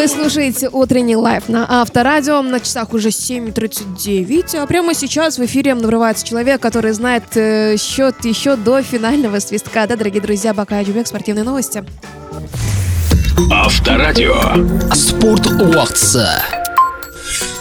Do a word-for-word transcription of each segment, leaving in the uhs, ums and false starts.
Вы слушаете утренний лайв на Авторадио. На часах уже семь тридцать девять. А прямо сейчас в эфире врывается человек, который знает э, счет еще до финального свистка. Да, дорогие друзья, Бакай Аджубек, спортивные новости. Авторадио. Спорт убактысы.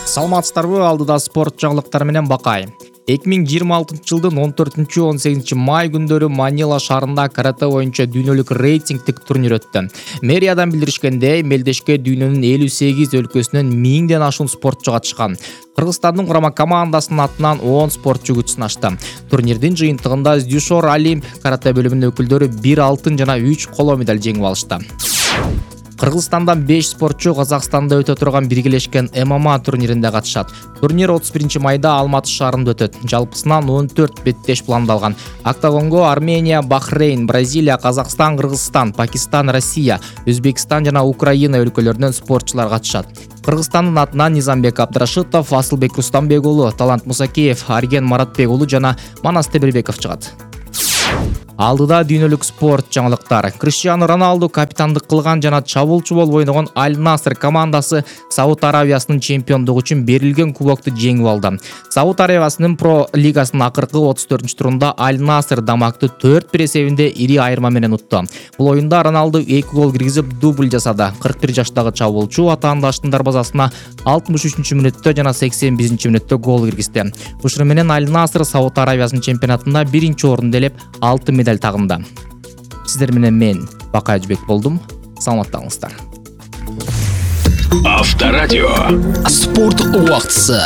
Саламатсыздарбы, алдыда спорт жаңылыктары менен Бакай. эки миң жыйырма алтынчы жылдын он төртүнчү он сегизинчи май күндөрү Манила шаарында карате боюнча дүйнөлүк рейтингдик турнир өттү. Мэриядан билдиришкендей, мелдешке дүйнөнүн элүү сегиз өлкөсүнөн миңден ашуун спортчу катышкан. Кыргызстандын курама командасынын атынан он спортчу күч сынашты. Турнирдин жыйынтыгында Дюшор Олимп карате бөлүмүнүн өкүлдөрү бир алтын жана үч коло медаль жеңип алышты. Кыргызстандан беш спортчу Казакстанда өтө турган биргелешкен эм эм а турниринде катышат. Турнир отуз биринчи майда Алматы шаарында өтөт. Жалпысынан он төрт беттеш пландалган. Октагонго Армения, Бахрейн, Бразилия, Казакстан, Кыргызстан, Пакистан, Россия, Өзбекстан жана Украина өлкөлөрүнөн спортчулар катышат. Кыргызстандын атынан Низамбек Абдрашитов, Асылбек Рустамбек уулу, Талант Мусакеев, Арген Маратбек уулу жана Манас Тебирбеков чыгат. Алдыда дүйнөлүк спорт жаңылыктары. Криштиану Роналду капитандык кылган жана чабуулчу болуп ойногон Аль-Наср командасы Сауд Аравиясынын чемпиондугу үчүн берилген кубокту жеңип алды. Сауд Аравиясынын Про лигасынын акыркы отуз төртүнчү турунда Аль-Наср Дамакты төрт бир эсебинде ири айырма менен утту. Бул оюнда Роналду эки гол киргизип дубль жасады. кырк бир жаштагы чабуулчу атаандаштын дарбазасына алтымыш үчүнчү мүнөттө жана сексен биринчи мүнөттө гол киргизди. Ушуну менен Аль-Наср Сауд Аравиясынын чемпионатында биринчи орунду ээлеп, алты медаль тагында. Сиздер менен мен Бакай Аджубек болдум. Саламаттаңыздар. Авторадио. Спорт убактысы.